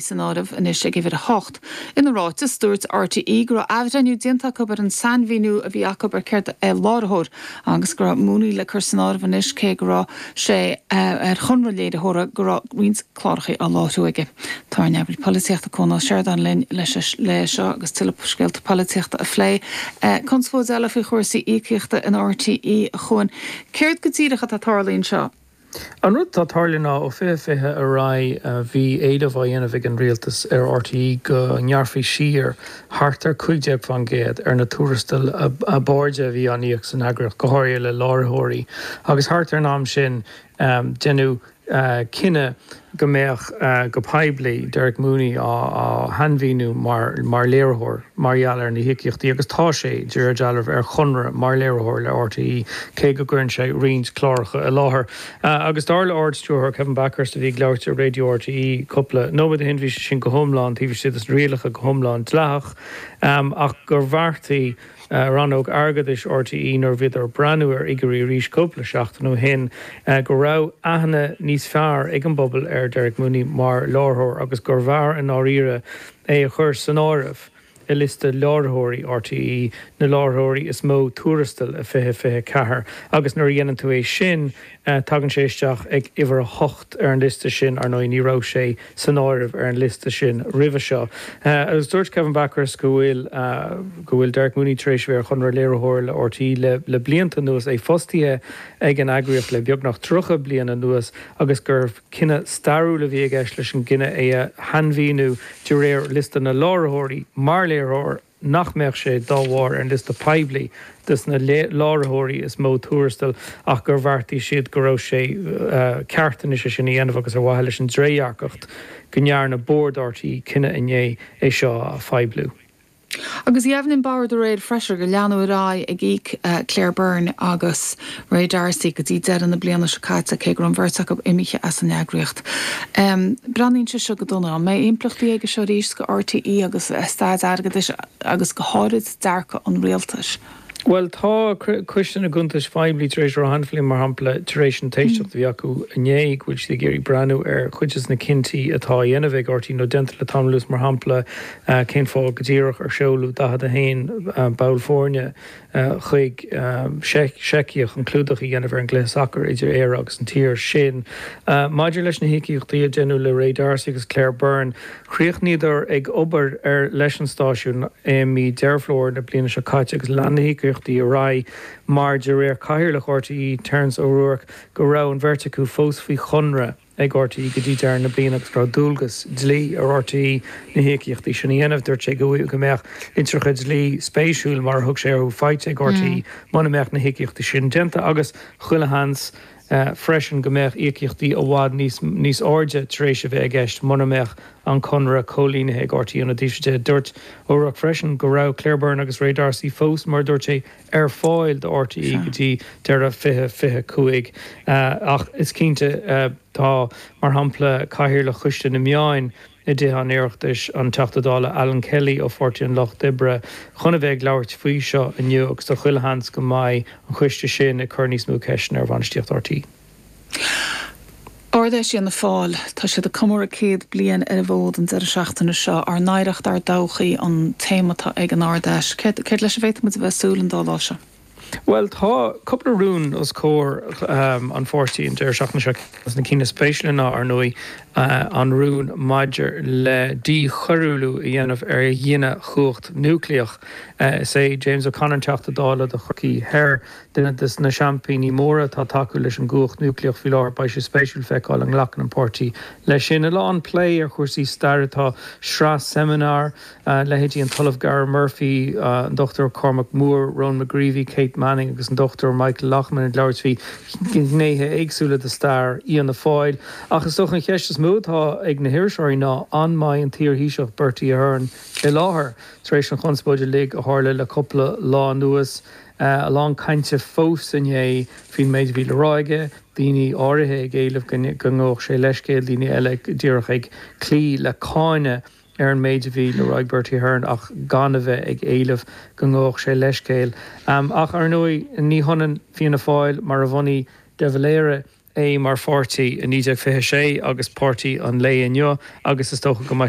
San áireamh anois ag uimhir 8. Ina ráiteas, dúirt RTÉ go raibh athbhreithniú déanta acu ar an sainmhíniú a bhí acu ar céard é láithreoir agus go raibh Mooney le cur san áireamh anois cé go raibh sé ar chonradh léiritheora go raibh roinnt cláracha á láithriú aige. Tá ár n-eagraí polaitíochta Cuan Ó Seireadáin linn leis le seo agus tuilleadh scéalta polaitíochta a phlé. Conspóid eile faoi chúrsaí íocaíochta in RTÉ, a Chuain. Céard go díreach atá ag tarlú anseo? An rud atá ag tarlú ná ó 2020 ar aghaidh bhí éileamh á dhéanamh ag an rialtas ar RTÉ go ngearrfaí siar thart ar 15% ar na tuarastail ab airde a bhí á n-íoc san eagraíocht, go háirithe le láithreoirí. Agus thart ar an am sin deineadh cinneadh go mbeadh, go poiblí, Derek Mooney á shainmhíniú mar léiritheoir mar gheall ar na híocaíochtaí agus tá sé, de réir dealraimh, ar chonradh mar léiritheoir le RTÉ, cé go gcuireann sé roinnt cláracha i láthair. Agus dar le Ard-Stiúrthóir Kevin Bakhurst, a bhí ag labhairt ar Raidió RTÉ cúpla nóiméad ó shin, bhí sé sin go hiomlán taobh istigh de na rialacha, go hiomlán dleathach, ach gur bheartaigh Rannóg Airgeadais RTÉ nuair a bhíodar ag breathnú ar fhigiúirí arís cúpla seachtain ó shin go raibh aithne níos fearr ag an bpobal ar Derek Mooney mar láithreoir agus gurbh fhearr i ndáiríre é a chur san áireamh i liosta láithreoirí RTÉ, na láithreoirí is mó tuarastal i 2024 agus nuair a dhéanann tú é sin tagann sé isteach ag uimhir 8 ar an liosta sin, ar ndóigh ní raibh sé san áireamh ar an liosta sin roimhe seo. Agus dúirt Kevin Bakhurst go bhfuil go bhfuil Derek Mooney tar éis a bheith ar chonradh léiritheora le RTÉ le le blianta anuas, é fostaithe ag an eagraíocht le beagnach 30 bliain anuas agus gur cinneadh stairiúil a bhí i gceist leis an gcinneadh é a shainmhíniú de réir liosta na láithreoirí mar léiritheoir. nach mbeadh sé dá bharr ar an liosta poiblí des na láithreoirí is mó tuarastal ach gur bheartaigh siad go raibh sé ceart anois é sin a dhéanamh agus ar mhaithe leis an dtrédhearcacht go ndearna bord RTÉ cinneadh inné é seo a phoibliú. Agus dheimhnigh an Bord aréir freisin gur leanadh ar aghaidh ag íoc Claire Byrne agus Ray D'Arcy go dtí deireadh na bliana seo caite, cé go raibh an bheirt acu imithe as an eagraíocht. Breathnaíonn sé seo go dona. An mbeidh impleachtaí aige seo arís go RTÉ agus a staid airgeadais agus go háirid dearcadh an rialtais? Bhuel, tá Coiste na gCuntas Phoiblí tar éis a rá cheana féin, mar shampla, tar éis an t-éisteacht a bhí acu inné, go bhfuil siad ag iarraidh breathnú ar chuid de na cinntí atá á dhéanamh ag RTÉ nó déanta le tamall anuas, mar shampla, cén fáth go díreach ar seoladh 41 ball foirne chuig Seicia chun clúdach a dhéanamh ar an gcluiche sacair idir Éire agus an tír sin. Maidir leis na híocaíochtaí a deineadh le Ray D'Arcy agus Claire Byrne, chríochnaíodar ag obair ar leis an stáisiún i mí Deireadh Fómhair na bliana seo caite agus lean na híocaíochtaí ar aghaidh mar, de réir Chathaoirleach RTÉ, Terence O'Rourke, go raibh an bheirt acu fós faoi chonradh. ag RTÉ go dtí deireadh na bliana agus go raibh dualgas dlí ar RTÉ na híocaíochtaí sin a dhéanamh. Dúirt sé go mbeadh litreacha dlí spéisiúil, mar a thug sé orthu, faighte ag RTÉ muna mbeadh na híocaíochtaí sin déanta agus chuile sheans freisin go mbeadh íocaíochtaí i bhfad níos níos airde tar éis a bheith i gceist muna mbeadh an conradh comhlíontha ag RTÉ ina dtaobh de. Dúirt O'Rourke freisin go raibh Claire Byrne agus Ray D'Arcy fós, mar a dúirt sé, ar fáil do RTÉ go dtí deireadh 2025 ach is cinnte tá, mar shampla, Cathaoirleach Choiste na Meáin i dTithe an Oireachtais, an Teachta Dála Alan Kelly ó Pháirtí an Lucht Oibre, chun a bheith ag labhairt faoi seo inniu agus tá chuile sheans go mbeidh an coiste sin ag cur níos mó ceisteanna ar bhainistíocht RTÉ. Ard-Fheis Fhianna Fáil, tá siad ag comóradh 100 bliain ar an bhfód an deireadh seachtaine seo. Ár n-oidhreacht, ár dtodhchaí an téama atá ag an Ard-Fheis. Céard, céard leis a bhféadfaidh muid a bheith ag súil an dá lá seo? Bhuel, tá cúpla rún os comhair an pháirtí an deireadh seachtaine seo. Ceann de na cinn is spéisiúla ná, ar ndóigh, an rún maidir le díchoiriúlú a dhéanamh ar ghineadh chumhacht núicléach. Is é James O'Connor an Teachta Dála do Chorcaí Thoir. Duine de na seaimpíní móra atá ag tacú leis an gcumhacht núicléach faoi láthair, beidh sé spéisiúil feiceáil an nglacann an páirtí leis sin. A lán plé ar chúrsaí staire, tá sraith seimineár, leithéidí an tOllamh Gary Murphy, an Dr Cormac Moore, Ronan McGreevy, Kate Manning agus an Dr Michael Loughman ag labhairt faoi ghnéithe éagsúla de stair Fhianna Fáil. Ach is dócha an cheist is mó atá ag na hiriseoirí ná an mbeidh an t-iar-Thaoiseach Bertie Ahern i láthair tar éis an chonspóid uilig a tharla le cúpla lá anuas. A lán cainte fós inné faoin méid a bhí le rá aige, daoine áirithe ag éileamh go ngabhfadh sé leithscéal, daoine eile díreach ag cloí le cáineadh ar an méid a bhí le rá ag Bertie Ahern ach gan a bheith ag éileamh go ngabhfadh sé leithscéal. Ach ar ndóigh ní hionann Fianna Fáil mar a bhunaigh De Valera. é mar pháirtí i 1926 agus páirtí an lae inniu agus is dócha go mbeidh.